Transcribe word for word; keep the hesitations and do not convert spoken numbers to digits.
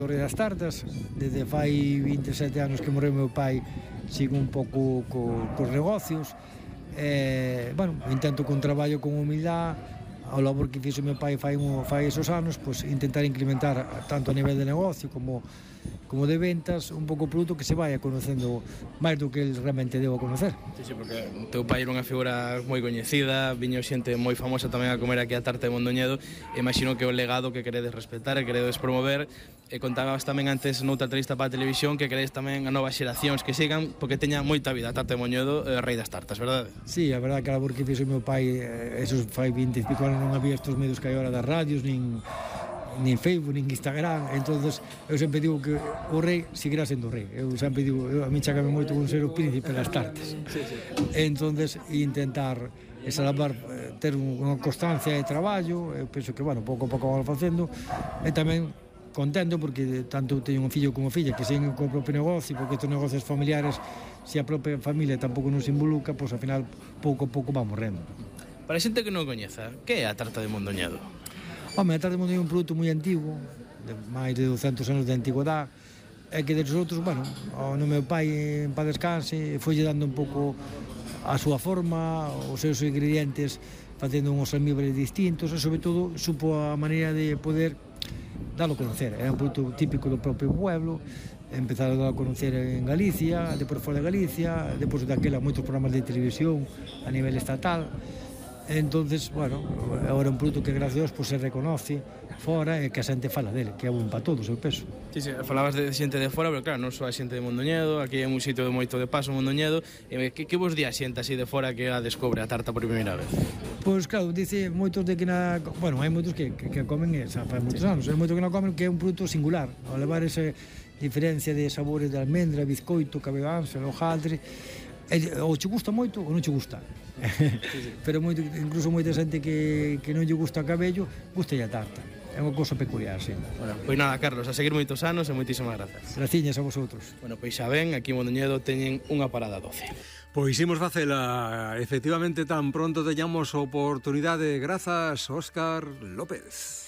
O Rei das Tartas, desde fai vinte e sete anos que morreu meu pai, sigo un pouco co, cos negocios, e, bueno, intento con traballo, con humildade, ao labor que fixo meu pai fai, un, fai esos anos, pues, intentar incrementar tanto a nivel de negocio como, como de ventas, un pouco o produto que se vaya conocendo máis do que el realmente debo conocer. Sí, sí, porque o teu pai era unha figura moi coñecida, viño xente moi famosa tamén a comer aquí a tarta de Mondoñedo, e imagino que o legado que queredes respetar e queredes promover, e contabas tamén antes noutra entrevista para a televisión que queredes tamén a novas xeracións que sigan, porque teña moita vida a tarta de Mondoñedo, eh, Rei das Tartas, verdade? Sí, a verdade que a labor que fixo meu pai, eh, esos fai vinte e pico anos non había estos medios que hai ahora das radios, nin nin Facebook, nin Instagram, entonces eu sempre digo que o rei seguirá sendo o rei. Eu sempre digo, eu, a mí chácame moito con ser o príncipe das tartas. Sí, sí. Entonces intentar esa labor, ter unha constancia de traballo, eu penso que, bueno, pouco a pouco vamos facendo, e tamén contento porque tanto teño un fillo como filla que seguen co propio negocio, porque estes negocios familiares, se a propia familia tampouco nos involucra, pois ao final pouco a pouco va morrendo. Para a xente que non coñeza, que é a tarta de Mondoñedo? Home, a tarta de Mondoñedo é un produto moi antigo, de máis de douscentos anos de antigüedade, e que de nosotros, bueno, no meu pai en paz descanse, foille dando un pouco a súa forma, os seus ingredientes, facendo uns almíbares distintos, e sobre todo supo a maneira de poder dalo a conocer. É un produto típico do propio pueblo, empezar a dalo a conocer en Galicia, depois fora de Galicia, depois daquela moitos programas de televisión a nivel estatal. Entonces, bueno, agora é un produto que gracias a Dios pues, se reconoce fora e que a xente fala dele, que é un para todos, eu penso. Sí, sí, falabas de xente de fora, pero claro, non só a xente de Mondoñedo, aquí é un sitio de moito de paso, Mondoñedo, e que, que vos di a xente así de fora que a descobre a tarta por primeira vez? Pois claro, dice moitos de que na... Bueno, hai moitos que, que, que comen, xa fai moitos anos, hai moitos que non comen que é un produto singular, ao levar esa diferencia de sabores de almendra, bizcoito, cabeganza, hojaldre, ou che gusta moito ou non che gusta. Sí, sí. Pero moito, incluso moita xente que, que non lle gusta o cabello, gusta a tarta. É unha cousa peculiar, sí. Bueno, pois nada, Carlos, a seguir moitos anos e moitísimas grazas. Graciñas a vosotros. Bueno, pois xa ven, aquí en Mondoñedo teñen unha parada doce. Pois imos facela, efectivamente, tan pronto teñamos oportunidade. Grazas, Óscar López.